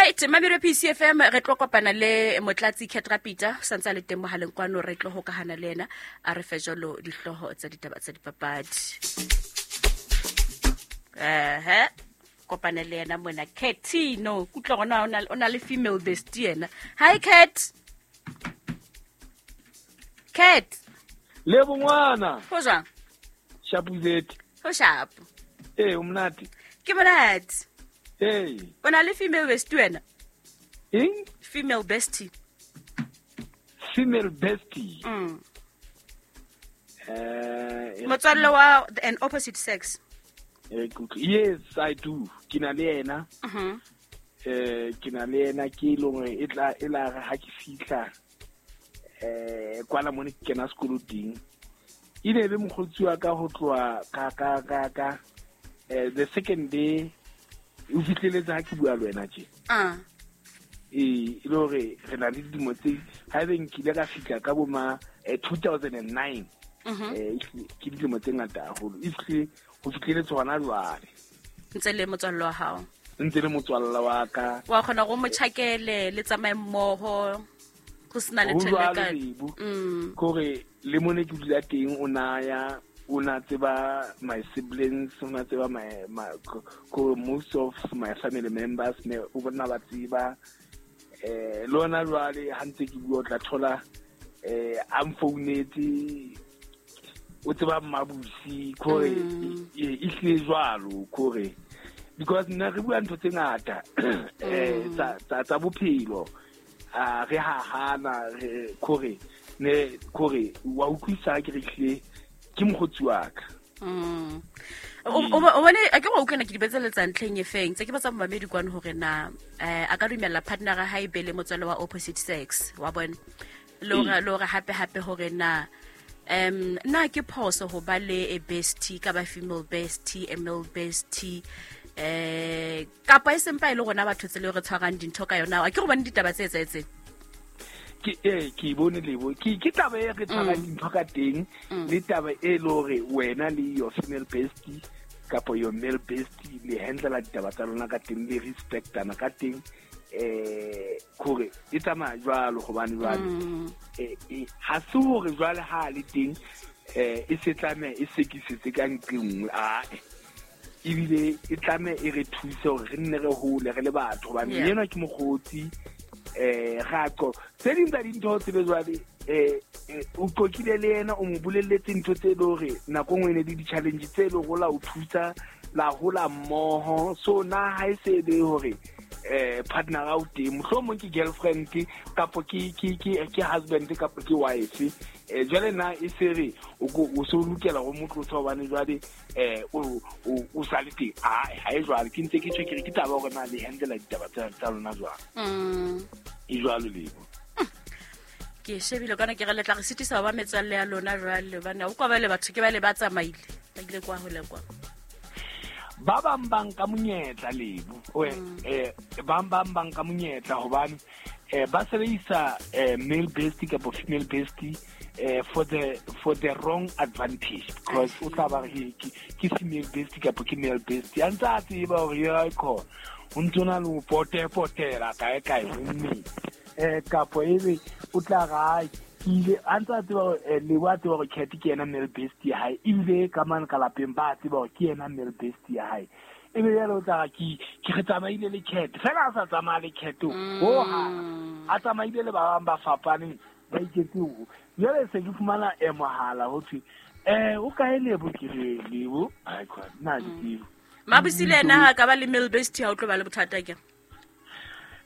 Alright, mamelo PCFM, re tlo kopana le Motlatsi Ketrapita, santse a le teng mohaleng kwano, re tlo hokahana le ena a re fe jalo dihlooho tsa ditaba tsa dipapadi. Ehe, kopana le yena mona Catino, kutlwa gona o na le female bestie yena. Hi Cat. Cat. Le bongwana. Ho jwang? Shapuzeti. Ho shapo. Ee, o monate. Ke monate. Ee. O na le female bestie wena? Eng? Female bestie. Female bestie. Motswalle wa an opposite sex. Yes, I do. Ke na le yena. Ke na le yena, ke e leng hore e tla, e la re ha ke fihla, kwana mone ke kena sekolo teng. E ne e le mokgotsi wa ka ho tloha ka the second day, o fihleletse ha ke bua le wena tje. Ee, e le hore re na le dilemo tse, ha ebe nkile ka fihla ka bo ma 2009. Ke dilemo tse ngata haholo. E fihlile, ho fihleletse hona jwale. Ntse le motswalle wa hao? Ntse le motswalle wa ka. Wa kgona go mo tjhakele, le tsamaye mmoho, go sena le Ho tjhelete jwalo, ka- Lebo. Ke hore le mone ke dula teng, o na ya, o na tseba my siblings, o na tseba my, my, ko, ko most of my family members, me o bona ba tseba. Le hona jwale ha ntse ke bua o tla thola, a mfounetse, o tseba Mmabusi, ke hore e hlile jwalo, ke hore because nna re bua ntho tse ngata, tsa bophelo. Re hahana, re, ke hore, ne, ke hore wa utlwisisa ha ke re hlile ke mokgotsi wa ka. O bone, a ke go utlwana ke di betseletsa ntlheng e feng? Tse ke batsa momamedi kwano hore na, a ka dumella partner ya hae be le motswalle wa opposite sex, wa bona? Le hore hape hape hore na, na ke phoso ho ba le a bestie, ka ba female bestie, a male bestie, kapa e sempa e le rona batho tsela eo re tshwarang dintho ka yona. A ke go bone ditaba tse etsahetseng? Ke, ke e bone Lebo. Ke taba e re tshwarang dintho ka teng, le taba e le hore wena le your female bestie kapa your male bestie le handlela ditaba tsa lona ka teng, le respectana ka teng. Kore e tsamaya jwalo hobane jwale, ha se hore jwale ha le teng, e se tlameha e sekisetse ka nqe nngwe, ae. Ebile e tlameha e re thuse hore re nne re hole re le batho, hobane enwa ke mokgotsi, ra qo. Tse ding tsa dintho tsebe jwale, o qoqile le yena, o mo bolelletse ntho tse le hore nako nngwe e ne le di-challenge tse le hore la o thusa, la hola mmoho. So na ha e se le hore, partner a o teng, mohlomong ke girlfriend kapo ke husband kapo ke wife, jwale na e se re o ko, o so lokela ho mo tlosa hobane jwale, o sa le teng. Ae, ha e jwalo, ke ntse ke tjho ke re ke taba hore na le handle ditaba tsa lona jwang. E jwalo Lebo. Ke shebile kana ke re le tla re sitisa ba metswalle ya lona jwale, hobane o kwa ba le batho ke ba le ba tsamaile, ba ile kwa hole kwa. Ba bang ba nka monyetla Lebo. Oe, bang bang ba nka monyetla hobane, ba sebedisa, male bestie kapa female bestie, for the wrong advantage, because o tla ba re ke female bestie kapa ke male bestie, a ntse a tseba hore ya khona o ntse o na le ho potepotela kae kae ho mmele. Kapo ebe o tla re, ai, ke ile, a ntse a tseba hore, Lebo a tseba hore Cat ke yena male bestie ya hae, ebile ka mane ka lapeng ba tseba hore ke yena male bestie ya hae. Ebe jwale o tla re, ke re tsamaile le Cat, fela a sa tsamaya le Cat ho hang, a tsamaile le ba bang ba fapaneng, ba iketse ho. Jwale se ke fumana, mohala ho thwe, o kae Lebo? Ke re, Lebo, ai, khona, nna ha ke tsebe. Mabusi le yena ha ka ba le male bestie, ha o tlo ba le bothata ke?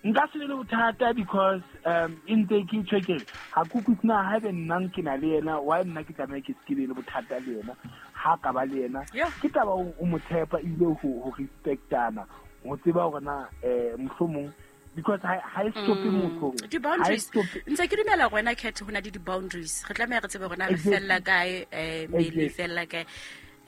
Nka se be le bothata because, e ntse ke tjho ke re, ha ke utlwisise na haebe nna ke na le yena, why nna ke tlameha ke se ke be le bothata le yena, ha ka ba le yena. Ke taba o mo tshepa ebile ho respectana, ho tseba hore na, mohlomong, because ha e stope motho hore, ha e Di-boundaries. stope. Ntse ke dumela hore wena Cat ho na le di-boundaries. Re tlameha re tsebe hore na re fella kae, mmele e fella kae.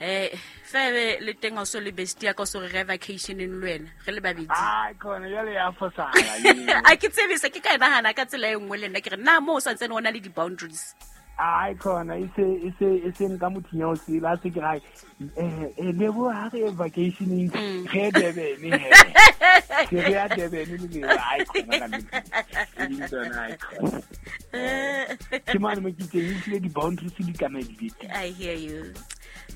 Febe le teng ha o so le bestie ya ka, o so re re vacationeng le wena, re le babedi. Ai, khona, jwale ya fosahala eo. A ke tsebe se ke ka e nahana ka tsela e nngwe le nna, ke re, na moo o santsane o na le di-boundaries? Ai, khona, e se nka mothunya o sele, a se ke re, ai, Lebo, ha re ye vacationeng, re ye Durban, he. Ke re ya Durban le le ai khona ka nnete. Tsona ai khona. Ke mane mo ke teng ehlile di-boundaries di tlameha di be teng. I hear you.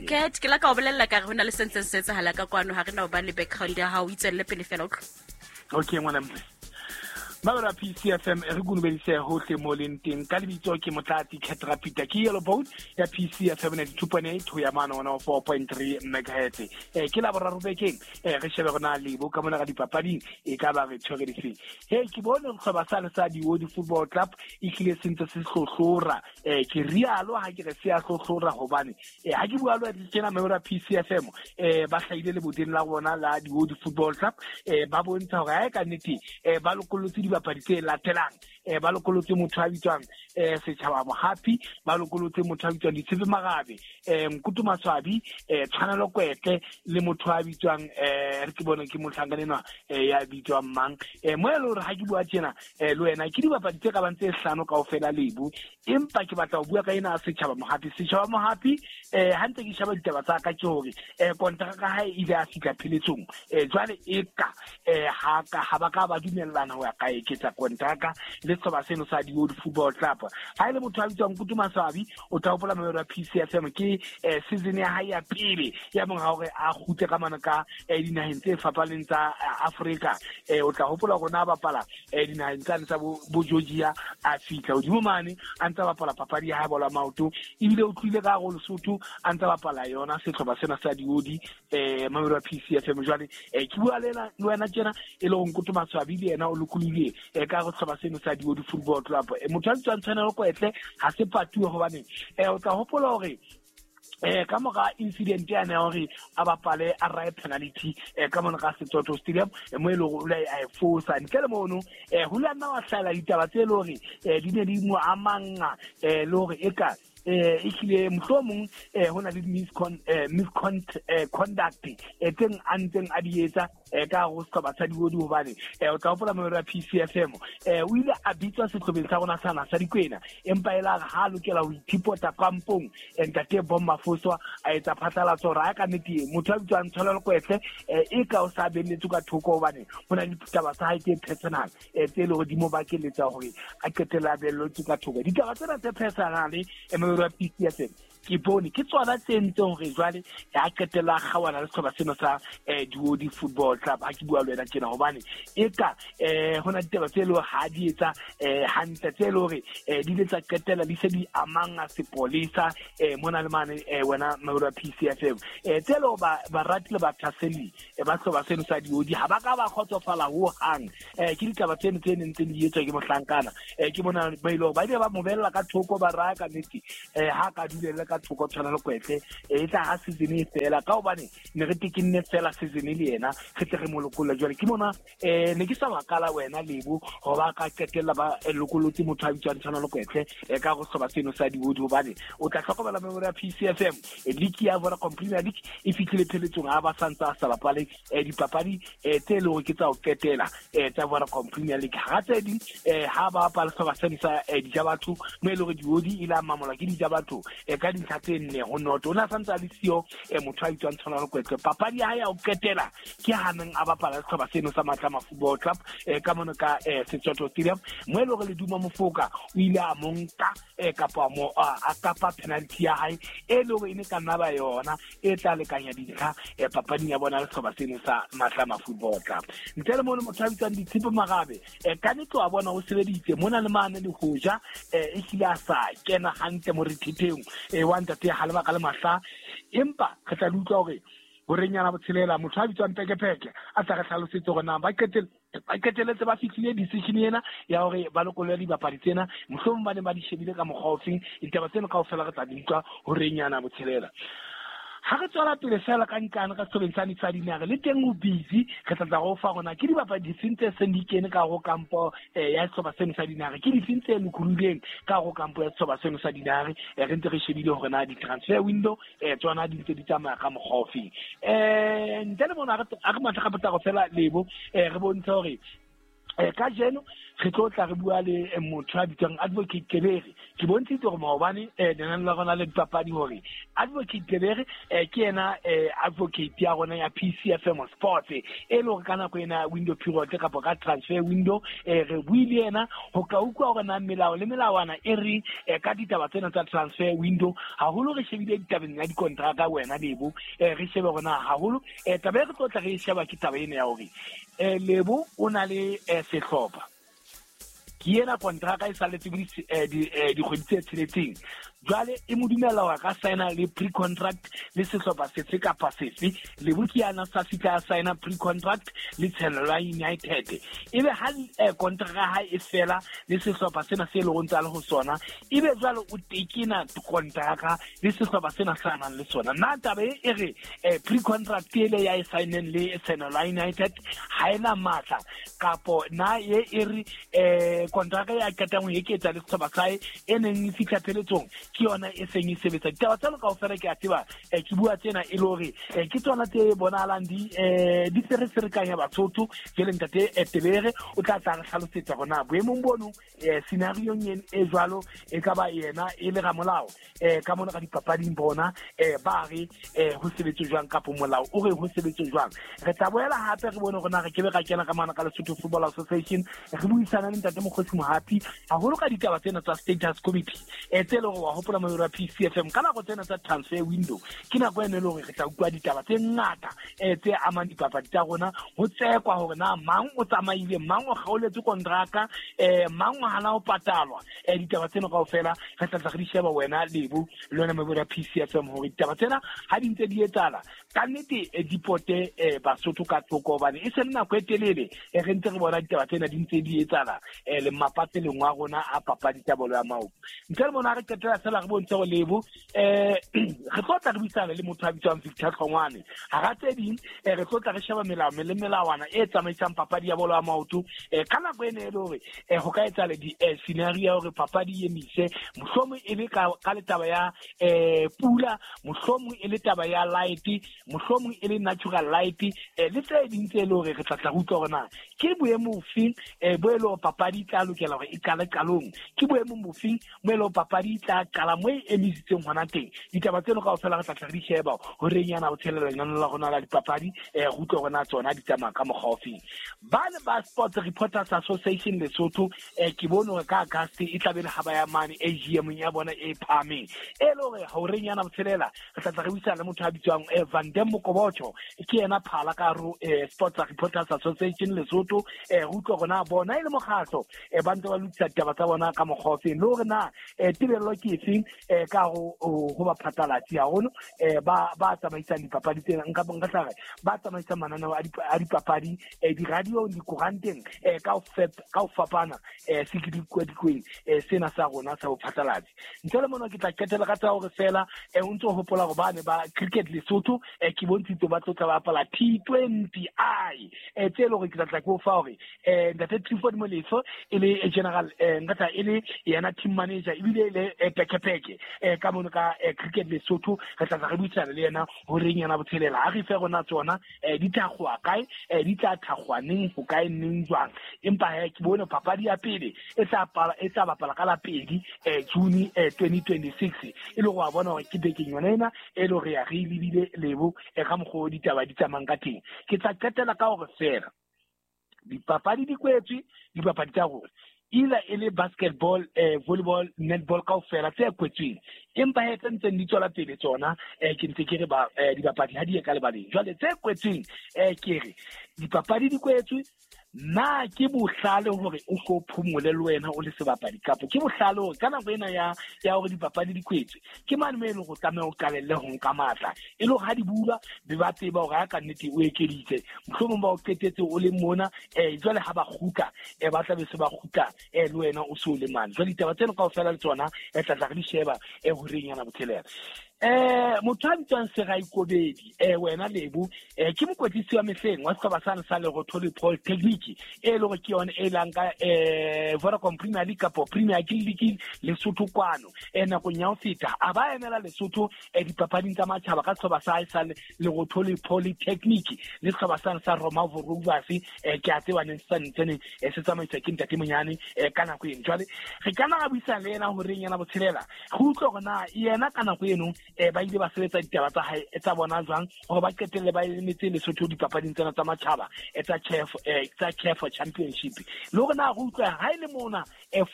Cat, ke la ka o bolella ka re ho na le se ntseng se etsahala ka kwano, ha re na ho ba le background ya hao, o itswelle pele fela utlwa. Okay, ngwana mme. Mabelo a PCFM re kunubedise hohle mo leng teng ka lebitso ke Motlatsi Cat Rapita ke Yellow Boat ya PCFM 92.8 ho ya mane 104.3 megahertz. Ke la boraro bekeng re shebe rona lebo ka mona ga dipapading e ka ba re tshwere difeng. He ke bone sehlopha sane sa Diodi Football Club e hlile se ntse se hlohlora. Ke rialo ha ke re se a hlohlora hobane ha ke bua le wena tjena mabelo a PCFM ba hlahile leboteng la bona la Diodi Football Club ba bontsha hore ha e ka nnete ba lokollotse dibapadi tse latelang ba lokollotse motho a bitswang Setjhaba Mohapi, ba lokollotse motho a bitswang Ditshepe Marabe, Nkutu Maswabi, Tshwanelo Kwetle le motho a bitswang re ke bone ke mohlankana enwa ya bitswang mang mo e le hore ha ke bua tjena le wena ke dibapadi tse ka bang tse hlano kaofela lebu, empa ke batla ho bua ka ena Setjhaba Mohapi. Setjhaba Mohapi ha ntse ke sheba ditaba tsa ka ke hore kontraka hae e ile ya fihla pheletsong jwale e ka ha ba ka ba dumellana ho ya ka eketsa kontraka le sehlopha seno sa Diodi Football Club. Ha e le motho a bitswang Nkutu Maswabi, o tla hopola mabelo a PCFM ke season ya hae ya pele ya monga hore a kgutle ka mane ka dinaheng tse fapaneng tsa Afrika. O tla hopola hore na bapala dinaheng tsane tsa bo Georgia, a fihla hodimo mane a ntsa bapala papadi ya hae bolo ya maoto, ebile o tlile ka hare ho Lesotho a ntsa bapala yona sehlopha sena sa Diodi mabelo a PCFM. Jwale ke bua le wena tjena e le ho Nkutu Maswabi le yena o lokolohile ka hare ho sehlopha seno sa Diodi Football Club. Motho a bitswang Tshwanelo Kwetle ha se patuwe hobane o tla hopola hore ka mora incident yane ya hore a bapale a raye penalty ka mona ka Setsotho Stadium mo e leng hore o ile a e fosa. Ntle le mono ho ile nna wa hlahela ditaba tse leng hore di ne di mo amanga le hore e ka ehlile mohlomong ho na le misconduct tseng a ntseng a di etsa ka hare ho sehlopha sa Diodi hobane o tla hopola mabelo a PCFM o ile a bitswa sehlopheng sa rona sana sa Dikwena, empa e la re ha lokela ho ithipota kampong ntate Bomma Foswa a etsa phatlalatso hore ha ka nnete motho a bitswang Tshwanelo Kwetle e ka o sa belletswe ka thoko hobane ho na le ditaba tsa hae tse personal tse leng hore di mo bakeletsa hore a qetelle a belletswe ka thoko. Ditaba tsena tse personal mabelo a PCFM ke bone ke tsona tse entseng hore jwale a qetella a kgaohana le sehlopha seno sa Diodi Football Club. Ha ke bua le wena tjena hobane e ka ho na ditaba tse leng hore ha di etsa hantle tse leng hore di ile tsa qetella di se di amanga sepolesa mona le mane wena mabelo a PCFM tse leng hore barati le bathaselli ba sehlopha seno sa Diodi ha ba ka ba kgotsofala ho hang. Ke ditaba tseno tse neng tse di etswa ke mohlankana ke bona ba ile ba ile ba mo bella ka thoko ba raya ka nnete ha ka dulelle ka thoko Tshwanelo Kwetle e tla ha season e fela ka hobane ne re tekenne fela season le yena re tle re mo lokolle. Jwale ke mona ne ke sa makala wena Lebo ho ba ka qetella ba lokollotse motho a bitswang Tshwanelo Kwetle ka go sehlopha seno sa Diodi hobane o tla hlokomela memory ya PCFM league ya Vodacom Premier League e fihlile pheletsong ha ba santse a sa bapale dipapadi tse leng hore ke tsa ho qetela tsa Vodacom Premier League. Ha tse ding ha ba bapala sehlopha seno sa Dijabatho mo e leng hore Diodi e la mamolwa ke Dijabatho ka dintlha tse 4-0. O ne a santse a le siyo motho a bitswang Tshwanelo Kwetle. Papadi ya hae ya ho qetela ke haneng a bapala sehlopha seno sa Matlama Football Club ka mono ka Setsotho Stadium mo e leng hore Leduma Mofoka o ile a mo nka kapa mo a kapa penalty ya hae e leng hore e ne ka nna ba yona e tla lekanya dintlha papading ya bona le sehlopha seno sa Matlama Football Club. Ntle le mono motho a bitswang Ditshepe Marabe ka nnete wa bona o sebeditse mona le mane le hoja e hlile a sa kena hantle morithetheng wa ntate ha lebaka le mahla, empa re tla utlwa hore borenyana botshelela motho a bitswang Pekepeke a tla re hlalosetse hore na ba qetelletse ba fihlile decision ena ya hore ba lokolle dibapadi tsena, mohlomong ba ne ba di shebile ka mokgwa ofeng. Ditaba tseno kaofela re tla di utlwa horenyana botshelela. Ha re tswela pele fela ka nkane ka sehlobeng sa sa Dinare le teng o busy, re tla tla go fa rona ke dibapadi difeng tse seng di kene ka ho kampo ya sehlopha seno sa Dinare, ke difeng tse lokolohileng ka ho kampo ya sehlopha seno sa Dinare. Re ntse re shebile hore na di-transfer window tsona di ntse di tsamaya ka mokgwa ofeng. Ntle le mona a re matla ka potlako fela Lebo re bontshe hore Kajeno re tlo tla re bua le motho a bitswang Advocate Tebere. Ke bontshitse hore maobane lenaneo la rona le dipapadi hore Advocate Tebere ke yena advocate ya rona ya PCFM Sports, e le hore ka nako ena window period kapa ka transfer window re buile yena ho ka utlwa hore na melao le melawana e re ka ditaba tsena tsa transfer window, haholo re shebile ditabeng ya dikontraka wena Lebo, re shebe hore na haholo taba e re tlo tla re e sheba ke taba ena ya hore Lebo o na le sehlopha, ke ena kontraka e salletse dikgwedi tse tsheletseng, jwale e mo dumella hore a ka signa le pre-contract le sehlopha sefe kapa sefe. Lebo ke yana sa fihla a signa pre-contract le Tshenolo United, ebe ha kontraka ha e fela le sehlopha sena se leng ntse a le ho sona, ebe jwale o tekena kontraka le sehlopha sena sa nang le sona. Na taba e re pre-contract ele ya e signeng le Tshenolo United ha ena matla, kapo na e e re kontraka ya qetang ho eketsa le sehlopha sa hae e neng e fihla pheletsong ke yona e seng e sebetsa? Ditaba tseno kaofela ke a tseba, ke bua tsena e le hore ke tsona tse bonahalang di fereferekanya Basotho. Jwale ntate Tebere o tla tla re hlalosetsa hore na boemong bono, scenariong e jwalo, e ka ba yena e le ramolao ka mona ka dipapading bona ba re ho sebetse jwang, kapo molao o re ho sebetse jwang. Re tla boela hape re bone hore na re kebe ra kena ka mana ka Lesotho Football Association, re buisana le ntate Mokgosi Mohapi haholo ka ditaba tsena tsa status committee tse leng hore wa hopola moyoro wa PCFM ka nako tsena tsa transfer window ke nako ene e le hore re tla utlwa ditaba tse ngata tse amang dipapadi tsa rona, ho tsekwa hore na mang o tsamaile, mang o kgaoletswe kontraka, mang o hana ho patalwa. Ditaba tseno kaofela re tla tla re di sheba wena Lebo le wena moyoro wa PCFM, hore ditaba tsena ha di ntse di etsahala ka nnete di pote Basotho ka thoko, hobane e se le nako e telele re ntse re bona ditaba tsena di ntse di etsahala le mapatseleng wa rona a papadi tsa bolo ya maoto. Ntle le mona re qetela fela re bontshe hore Lebo re tlo tla re buisana le motho a bitswang Victor Hlongwane. Hara tse ding re tlo tla re sheba melao le melawana e tsamaisang papadi ya bolo ya maoto ka nako ene e le hore ho ka etsahala di-scenario ya hore papadi e emise, mohlomong e le ka le taba ya pula, mohlomong e le taba ya light, mohlomong e le natural light, le tse ding tse le hore re tla tla re utlwa hore na ke boemo bofeng bo e le hore papadi e tla lokela hore e qale qalong, ke boemong bofeng mo e le hore papadi e tla qala mo e emisitseng hona teng. Ditaba tseno kaofela re tla tla re di sheba horeng yana ho tshelela lenaneo la rona la dipapadi, re utlwe hore na tsona di tsamaya ka mokgwa ofeng. Ba ne ba Sports Reporters Association Lesotho, ke bone hore ka August e tla be le ha ba ya mane AGM ya bona e phahameng, e le hore horeng yana botshelela re tla tla re buisana le motho a bitswang Van Dam Mokobocho, ke yena phala ka hare Sports Reporters Association Lesotho, re utlwe hore na bona e le mokgatlo ba ntse ba lokisa ditaba tsa bona ka mokgwa ofeng, le hore na tebello ke efeng ka ho baphatlalatsi haholo ba tsamaisang dipapadi tsena, nka tla re ba tsamaisang mananeo a dipapadi di-radiong, dikoranteng ka ho fapana sekedikwadikweni sena sa rona sa bophatlalatsi. Ntle le mona ke tla qetela ka tsa hore fela o ntso hopola hore bane ba Cricket Lesotho ke bontshitse ba tlo tla bapala T20I tse le hore ke tla tla ke o fa hore ntate Clifford Molefe e le general, nka tla e le yena team manager ebile e le pekepeke ka mono ka Cricket Lesotho, re tla tla re buisana le yena horeng yana botshelela ha re fe rona tsona di thakgowa kae, di tla thakgowa neng, ho kae, neng, jwang. Empa he ke bone papadi ya pele e tla bapala ka la 2 June 2026, e le gore wa bona hore ke bekeng yona ena e le hore ya re lebile Lebo ka mokgwa o ditaba di tsamayang ka teng. Ke tla qetela ka hore fela dipapadi di kwetswe, dipapadi tsa rona either e le basketball, volleyball, netball kaofela tse kwetsweng, empa he tse ntseng di tswela pele tsona ke ntse ke re ba dipapadi ha di ye ka lebaleng. Jwale tse kwetsweng ke re dipapadi di kwetswe, na ke bohlale hore o ko phomole le wena o le sebapadi, kapo ke bohlale hore ka nako ena ya hore dipapadi di kwetswe ke mane mo e leng hore o tlameha o qalelle ho nka matla, e le hore ha di bulwa be ba tseba hore ha ka nnete o ekeditse, mohlomong ba o qetetse o le mona, jwale ha ba kgutla ba tla be se ba kgutla le wena o se o le mane. Jwale ditaba tseno kaofela le tsona tla tla re di sheba horeng yana botshelela. Motho a bitswang Serai Kobedi, wena Lebo, ke mokwetlisi wa mehleng wa sehlopha sane sa Lerotholi Polytechnic, e le hore ke yone e lang ka Vodacom Premier League kapo Premier League Lesotho kwano. Nakong ya ho feta a ba emela Lesotho dipapading tsa matjhaba ka sehlopha sa hae sa Lerotholi Polytechnic le sehlopha sane sa Roma Rovers, ke a tseba neng se ntsene se tsamaiswa ke ntate Monyane ka nako eno. Jwale re ka na ra buisana le yena horeng yana botshelela, re utlwe hore na yena ka nako eno ba ile ba sebetsa ditaba tsa hae tsa bona jwang hore ba qetelle ba emetse Lesotho dipapading tsena tsa matjhaba tsa CAF, tsa CAF Championship, le hore na re utlwe ha e le mona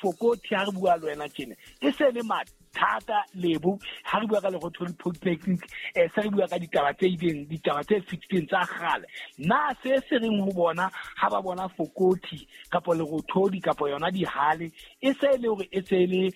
Fokothi ha re bua le wena tjena e se le mathata Lebo ha re bua ka Lerotholi Polytechnic, se re bua ka ditaba tse ileng, ditaba tse fetileng tsa kgale. Na se se reng ho bona ha ba bona Fokothi kapo Lerotholi kapo yona dihale e se le hore e se le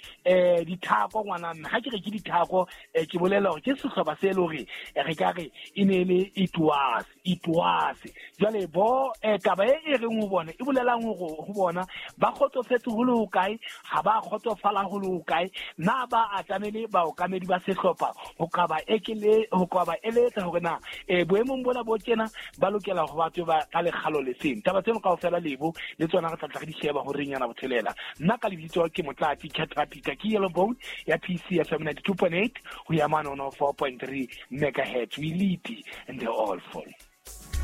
dithako ngwana mme ha ke re ke dithako, ke bolela hore ke sehlopha se le hore re ka re e ne le itoase. Jwale bo taba e reng ho bona e bolelang hore ho bona ba kgotsofetse ho le hokae, ha ba kgotsofala ho le hokae, na ba atamele baokamedi ba sehlopha ho ka ba ekele, ho ka ba eletsa hore na boemong bona bo tjena ba lokela ho ba tswe ba ka lekgalo le feng. Taba tseno kaofela Lebo le tsona re tla tla re di sheba ho reng yana botshelela. Nna ka lebitso ke Motlatsi Khetha Peter, ke Yellow Bone ya PC FM 92.8 ho ya mane 104.3 megahertz. We lead and they all follow.